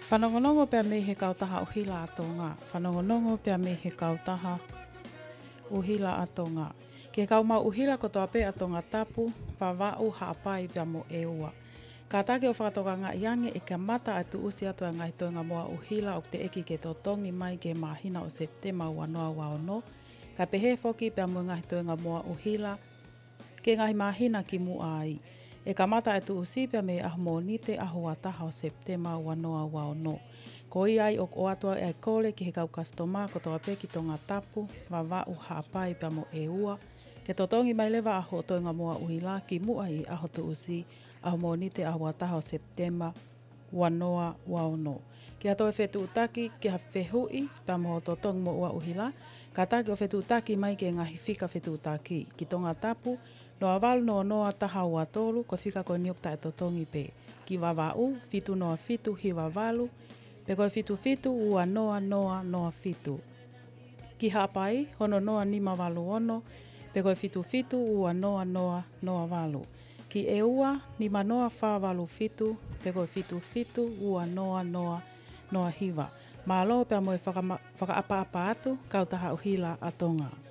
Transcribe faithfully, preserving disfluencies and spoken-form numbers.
Fanongonongo pea mei he kautaha ʻuhila ʻa Tonga. Fanongonongo pea mei he kautaha ʻuhila ʻa Tonga. Ki he kau maʻu ʻuhila kotoa pē ʻa Tongatapu, Vavaʻu, Haʻapai pea mo ʻEua. Kātaki ʻo fakatokangaʻi ange ʻe kamata ʻa e tuʻusi atu ʻa e ngaahi toenga moa ʻuhila ʻoku teʻeki ke totongi mai ki he māhina ʻo Sepitema ua noa ua ono, kae pehē foki pea mo e ngaahi toenga moa ʻuhila ki he ngaahi māhina kimuʻa ai. ʻE kamata ʻa e tuʻusi pea mei he ʻaho Mōnite ʻaho ua taha ʻo Sepitema ua noa ua ono. Ko ia ai ʻoku ʻoatu ʻa e kole ki he kau kasitoma kotoa pē ki Tongatapu, Vavaʻu, Haʻapai pea mo ʻEua, ke totongi mai leva ʻa hoʻo toenga moa ʻuhila kimuʻa ʻi he ʻaho tuʻusi, ʻaho Mōnite ʻaho ua taha ʻo Sepitema ua noa ua ono. Ki ha toe fetuʻutaki ki ha fehuʻi pea mo hoʻo totongi moa ʻuhila, kātaki ʻo fetuʻutaki mai ki he ngaahi fika fetuʻutaki. Ki Tongatapu, noa valu noa noa taha ua tolu, ko e fika ko eni ʻoku taʻetotongi pē. Ki Vavaʻu, fitu noa fitu hiva valu, pe ko e fitu fitu ua noa noa noa fitu. Ki Haʻapai, ono noa nima valu ono, pe ko e fitu fitu ua noa noa noa valu. Ki ʻEua, nima noa fā valu fitu, pe ko e fitu fitu ua noa noa noa hiva. Mālō pea mo e fakama-, fakaʻapaʻapa atu, kautaha ʻuhila ʻa Tonga.